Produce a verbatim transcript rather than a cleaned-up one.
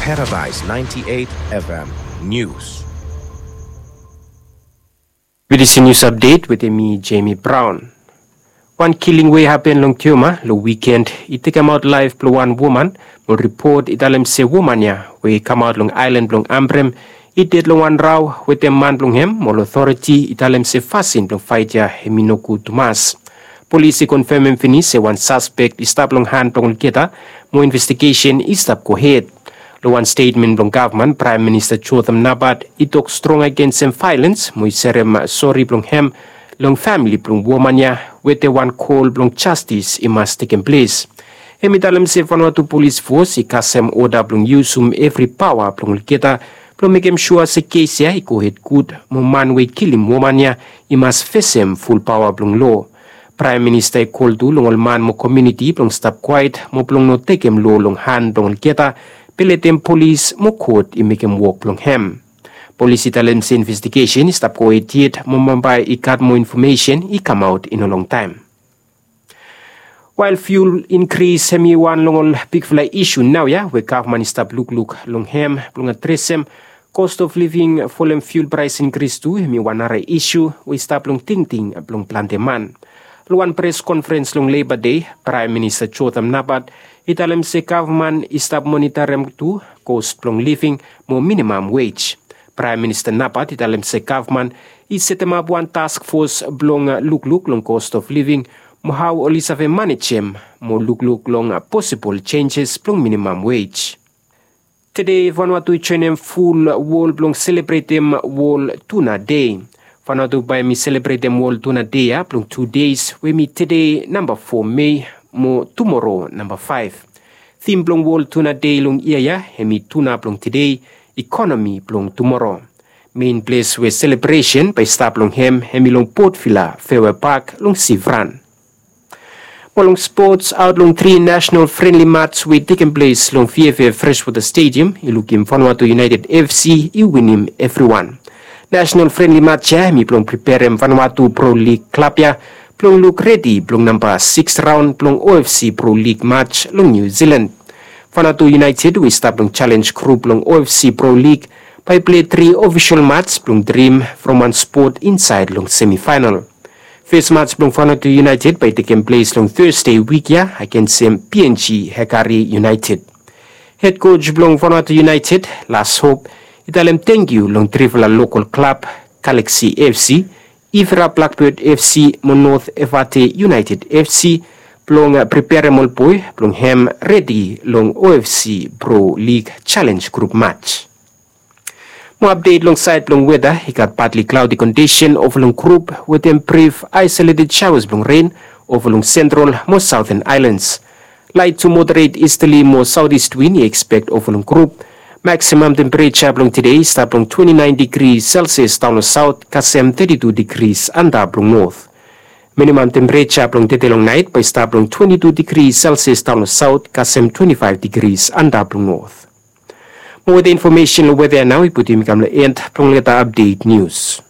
Paradise ninety-eight F M News. With this news update with mi, Jamie Brown. Wan kiling we i hapen long Tioma long wiken i tekemaot laef blong wan woman, mo ripot i talem se woman ya we i kamaot long aelan blong Ambrym i ded long wan rao wetem man blong hem, mo ol otoriti i talem se fasin blong faet ya hem i nogud tumas. Polis i konfemem finis se wan saspek i stap long han blong olgeta, mo investigesen i stap gohed. Long wan stetmen blong gavman, Praem Minista Jotham Napat i tok strong agensem vaelens, mo i serem sori blong hem long famili blong woman ya, wetem wan kol blong jastis i mas tekem ples. Hem i talem se Vanuatu Polis Fos i kasem oda blong yusum evri paoa blong olgeta blong mekem sua se kes ya i gohed gud, mo man we i kilim woman ya i mas fesem ful paoa blong loa. Praem Minista i kol tu long ol man mo komuniti blong stap kwaet mo blong no tekem loa long han blong olgeta, be letem polis mo kot i mekem wok blong hem. Polis i talem se investigesen i stap gohed yet, mo bambae i gat moa infomesen i kamaot i no longtaem. Wael fiul inkris hem i wan long ol bigfala isu naoia we gavman i stap lukluk long hem blong adresem, cost of living folem fiul praes inkris tu hem i wan nara isu we i stap long tingting blong plante man. Long wan pres konferens long Leiba Dei, Praem Minista Jotham Napat i talem se gavman i stap monitarem tu cost blong living mo minimam wej. Praem Minista Napat i talem se gavman i setemap wan task fos blong lukluk long cost of living mo hao oli save manejem mo lukluk long posibol jenjes blong minimam wej. Tede Vanuatu i joenem ful wol blong selebretem Wol Tuna Dei. Vanuatu bae hem i selebretem Wol Tuna Dei ya blong tu deis, we hem i tede namba fo Mei mo tumoro namba faef. Tim blong Wol Tuna Dei long yia ya hem i tuna blong tede, ikonomi blong tumoro. Mein ples we selebresen bae i stap long hem hem i long Port Vila Fairway Park long Sivran. Mo long spots, aot long tri nasenal frenli mats we i tekem ples long V F F Freshwater Stadium i lukim Vanuatu United F C i winim evriwan. Nasenal frenli mats ya hem i blong preperem Vanuatu Pro League klab ya blong luk redi blong namba sikis raon blong O F C Pro League mats long Niu Silan. Vanuatu United we i stap long Challenge Group long O F C Pro League bae i pilei tri ofisol mats blong drim from wan spot insaed long semifaenal. Fes mats blong Vanuatu United bae i tekem ples long Tasde wik ya agensem P N G Hekari United. Hed koj blong Vanuatu United, Las Hope, i talem tangkiu long trifala lokol klab, Galaxy F C, Ivra Blackbird F C mo North Evate United F C, blong preperem ol boe blong hem redi long O F C Pro League Challenge Group mats. Mo apdet long saed blong weta, i gat partly cloudy condition ova long grup wetem brif isolated showers blong ren ova long central mo southern islands. Light to moderate easterly mo southeast wind i expect ova long grup. Maximum temperature blong tede i stap long twenty-nine degrees Celsius daon long south kasem thirty-two degrees antap long north. Minimum temperature blong tede long naet bae i stap long twenty-two degrees Celsius daon long south kasem twenty-five degrees antap long north. Mo weta infomesen long weta ya nao i putum yumi kam long end blong olgeta apdet nius.